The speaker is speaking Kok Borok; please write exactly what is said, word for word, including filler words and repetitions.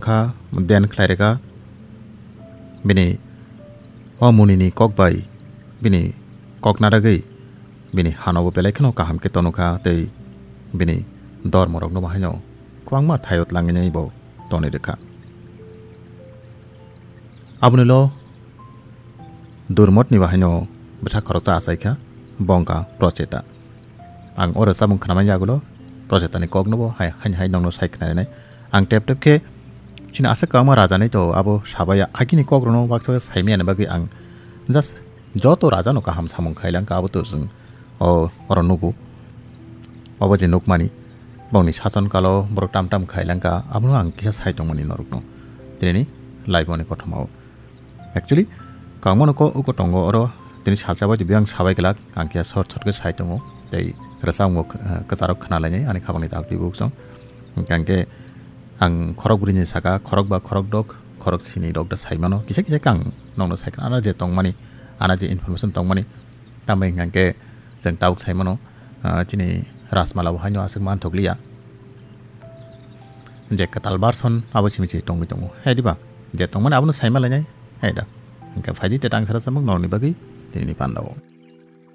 kha, den khlai rwkha. Bini o munini kok bai bini kok naragwi bini hanobo belai kheno kaham khe tonokha tei bini dormorokno bahaino kwbangma thaio tlanginai bo tonwi rwkha. Aboni ulo Durmotni bahaino bwsa khoroksa achaikha, bo wngkha Procheta. Ang oro chamung khnamani yagulo Prochetani koknobo hai, haini hai nokno sai khnarinai. Ang tep tep khe chini aswk kwbangma rajanai to abo sabaya agini kokrokno baksa saimani bagwi ang just joto rajano kaham samung khailangkha abo to chwng o oro nugo. Obo je nukmani bongni sason kalo borok tam tam khailangkha abono ang kisa sai tongmani norokno. Tinini live-oni kothomao. Actually, kangmano ko uko tongo oro tini sacha bai tibiyang sabai glak ang khe short short khe sai tongo tei rwchapmung, eh, kwcharok khna lainai ani khabangni dak twi buksong. Hingkhe ang khorok bwrwini saka khorok ba khorok dok khorok sini rok da sai mano kisa kisa khe ang nokno sai khna ana je tongmani ana je information tongmani tambai hingkhe chwng tabuk sai mano, ah, chini Rajmala bo haino aswk manthok liya. Je kwtal version abo simi se tongwi tongo. Hai diba? Je tongmani abono saima lainai. Hai da. Hingkhe phaidi te tang sara samung norokni bagwi tinini pandao.